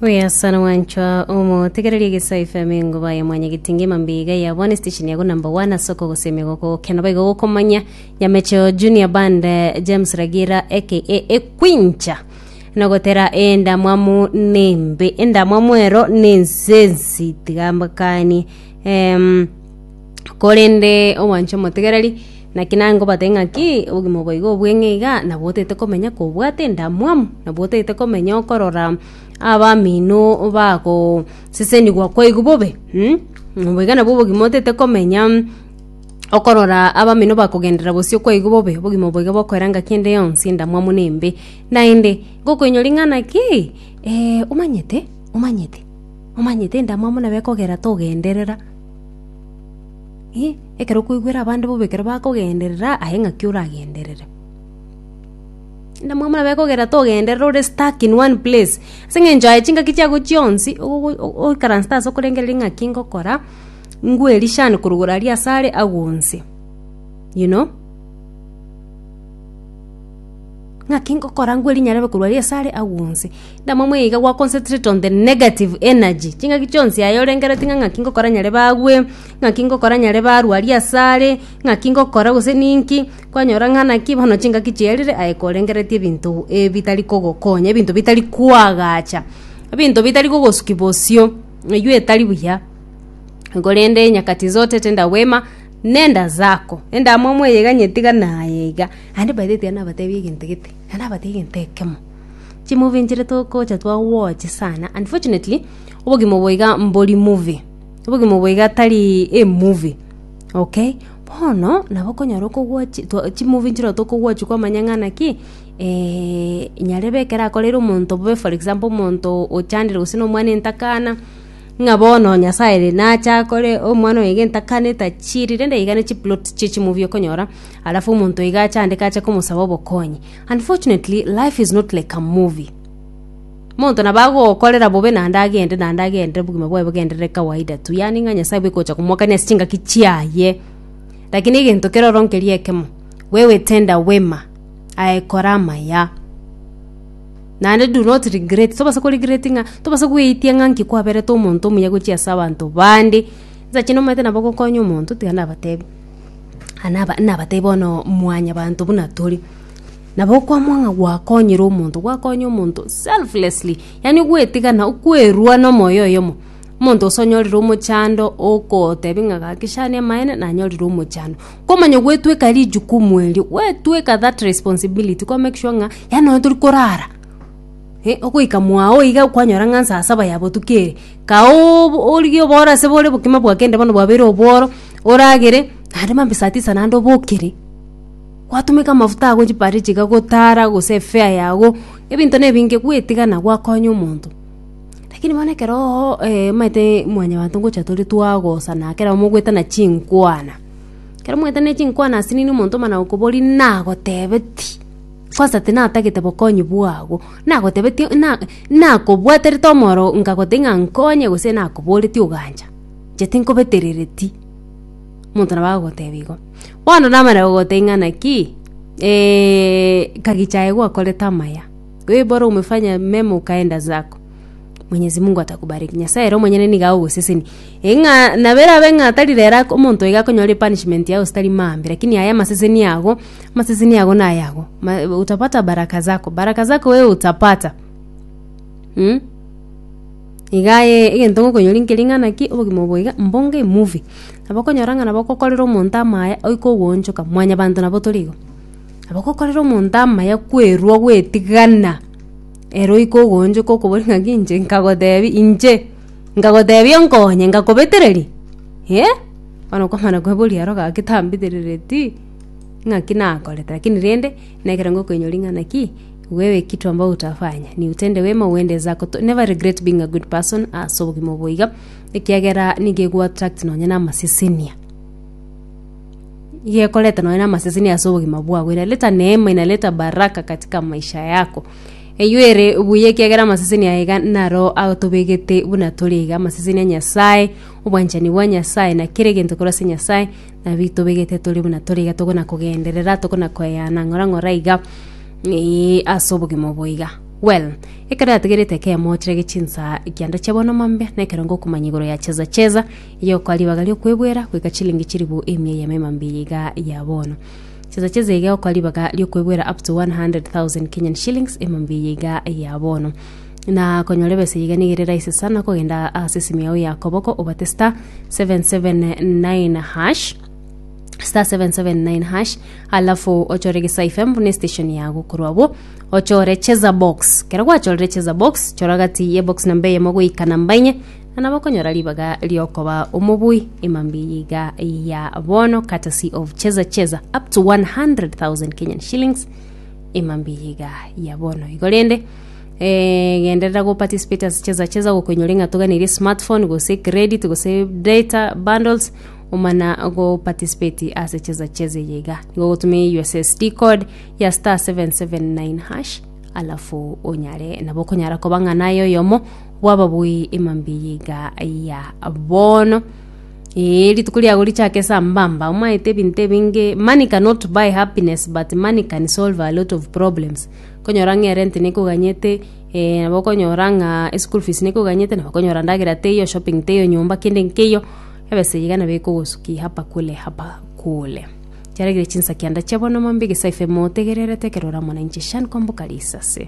Buya sana mwanchwa omotegereria Egesae FM engoba ya mwanyagetinga emambia iga ya bone station yago number one ase okogosemia gokogokena boigo gokomanya Nyamecho Junior Band eh, James Ragira aka Ekwincha nogotera endamwamu nembe endamwamu ero nensensi tiga mbakanie em, Korende omwanche omotegereri, naki nangobate ng'aki obogima obo iga obweng'e iga, nabo otagete komenya kobwate endamwamu, nabo otagete komenya okorora abamino bagosesenigwa kwaigwa bobe mh, obo iga nabwo obogima otagete komenya okorora abamino bakogenderera bosio kwaigwa bobe, obogima obo iga bokoera ngaki ende yonsi endamwamu na embe. Naende, ngokoinyora ng'a naki, omanyete omanyete omanyete endamwamu nabo ekogera togenderera. Ekero okoigwera abande bobe ekero bakogenderera, aye ng'aki oragenderere? Endamwamu nabo ekogera togenderere ore stuck in one place, ase eng'encho aye chingaki chiago chionsi ogogo oikaransete ase okorengereria ng'aki ngokora, ngwerishane korwa igoro aria ase are agonse, you know. Ng'aki ngokora ngwe rinyarebe korwa aria ase are agonse. Ndamwamu eye iga gwa concentrate on the negative energy, chingaki chionsi aye orengeretie ng'a ng'aki ngokora nyarebe agwe, ng'aki ngokora nyarebe arwe aria ase are, ng'aki ngokora gose ninki, kwanyora ng'a naki bono chingaki chiarire aye korengeretie ebinto ebitari kogokonya, ebinto bitari koagacha, ebinto bitari kogosukia bosio, eywo etari buya. Korende nyakati zote tenda wema, nenda zako, endamwamu eye iga nyetiga naye iga. Naende by the way tiga nabatebi egento gete, naende nabatebi egento ekemo, chimovie nchire togocha twa watch sana, unfortunately, obogima obo iga mbori movie, obogima obo iga tari emovie, okay. Bono, nabo okonyora okowatch twa chimovie nchire tokowatch kwamanya ng'a naki, nyarebe ekero akoreire omonto bobe for example omonto ochandire gose na omwana entakana, ng'a bono Nyasaye ere nache akore omwana oyo iga entakana etachiri rende iga ne chiplot chie chimovie okonyora. Alafu omonto iga achandeke ache komosaba obokonyi. Unfortunately, life is not like a movie. Omonto nabo agokorera bobe naende agende naende agende obogima bwaye bogenderere kawaida tu, yaani ng'a Nyasaye bweka ocha komwakania ase chingaki chiaye. Lakini egento kere ororo nkeria ekemo, wewe tenda wema, aye kora amaya. Naende do not regret, tobasa ko regret ng'a, tobasa gweitia ng'a nki kwaberete omonto omuya gochia ase abanto bande, insa chinde omanyete nabo ogokonya omonto, tiga nabatebi. Naba nabatebie bono mwanyabanto buna tore, nabo okoamua ng'a gwakonyire omonto, gwakonya omonto selflessly, yaani gwetigana okwerua na omoyo oyomo, omonto ase onyorire omochando okotebia ng'a gaki shani amaene nanyorire omochando. Kwamanya gwetweka rijukumu erio, gwetweka that responsibility kwa make sure ng'a yaani nonye tori korara, eh, ogoika mwao iga kwanyora ng'a nsaa saba ya botuko ere, kaoooo origie oboro ase bore obokima bwakende bono bwabeire obworo. Oragere, naende mambia saa tisa naende obokere, gwatumeka amafuta ago chipare chiga gotara gose efare yago, ebinto na ebinge gwetigana gwakonya omonto. Lakini bono ekeroo omanyete mwanyabanto ngocha tore twagosana ekero mogoetana chinkwana, ekero moetane chinkwana ase nini omonto omana gokoboria nagotebetie, kwanza tinatagete bokonyi bwago, nagotebetie na nakobwaterete omoro nkagotebia ng'a nkonye gose nakoboretie ogancha. Inche tinkobeterereti, omonto nabo agogotebia igo. Bono namanya gogotebia ng'a naki, kagicha aye gwakorete amaya, wewe bora umefanya mema ukaenda zako, mwenyezi Mungu atakubariki, Nyasaye ere omonyene nigo agogosesenia. Ng'a nabo erabe ng'a tari rero ako omonto iga akonyora epunishment yaye gose tari maambia, lakini aye amaseseni ago, amaseseni ago nayago, ma utapata baraka zako, baraka zako wewe utapata mh. Iga aye egento ngokonyoria nkeri ng'a naki obogima obo iga mbonge emovie. Nabo okonyora ng'a nabo ogokorera omonto amaya oike ogoonchoka, mwanyabanto nabo tore igo. Nabo ogokorera omonto amaya kwerwa gwetigana, ere oike ogoonchoka okoboria ng'aki inche nkagotebia inche, nkagotebia onkonye nkakobetereria eh, bono okomana kweboria aro gaki tambeterereti, ng'aki nakorete lakini rende, na ekero ngokoinyoria ng'a naki. Wewe kitu ambao utafanya ni utende wema uende zako to never regret being a good person ase obogima obo iga ekiagera nigo ego attract nonye na amasesenia iga ekoreta nonye na amasesenia ase obogima bwago inaleta neema inaleta baraka katika maisha yako eywo ere buya ekiagera amasesenia aya iga naro atobegete buna tore iga amasesenia a Nyasaye obwanchani bwa Nyasaye na kera egento korwa ase Nyasaye nabio tobegete tore buna tore iga tokona kogenderera tokona koeyana ng'ora ng'ora iga. Ee, ase obogima obo iga. Well, ekero yatigerete ekemo chirage chinsa kianda chia bono mambia, na ekero ngokomanya igoro ya cheza cheza, eyokoa ribaga riokwebwera goika chilingi chilifu emia eyemo emambia eye iga ya bono. Cheza cheza iga egokoa ribaga riokwebwera up to 100,000 Kenyan shillings emambia eye iga ya bono. Na konyora ebesa eye iga nigo ere rahisi sana kogenda ase esimi yao ya koboko obate star 779 hash star 779 hash alafu ochore Gesa FM buna estation yago korwa abwo ochore cheza box kero gwachorire cheza box chora gati ye box namba eyemo goika namba inye na nabo okonyora ribaga riokoba omobui emambia eye iga ya bono courtesy of cheza cheza up to 100,000 Kenyan shillings emambia eye iga ya bono igo rende eh, genderera go participate ase cheza cheza gokoinyora ng'a toganeire smartphone gose credit gose data bundles omana go participate ase cheza cheza eye iga nigo ogotumia USSD code ya star 779 hash alafu onyare nabo okonyara koba ng'a naye oyomo bw'ababui emambia eye iga ya bono Ee, rituko riago richake sambamba omaete ebinto ebinge money cannot buy happiness but money can solve a lot of problems okonyora ng'a erent nekoganyete eh, nabo okonyora ng'a eschool fees nekoganyete nabo okonyora ndagera teiyo shopping teiyo nyomba kende nkeiyo ebesa eye iga nabo ekogosukia hapa kule hapa kule. Chiaregire chinsa kianda chia bono mambia egesaifemo otegererete ekero ore amo nainche Shan Kwamboka Risase.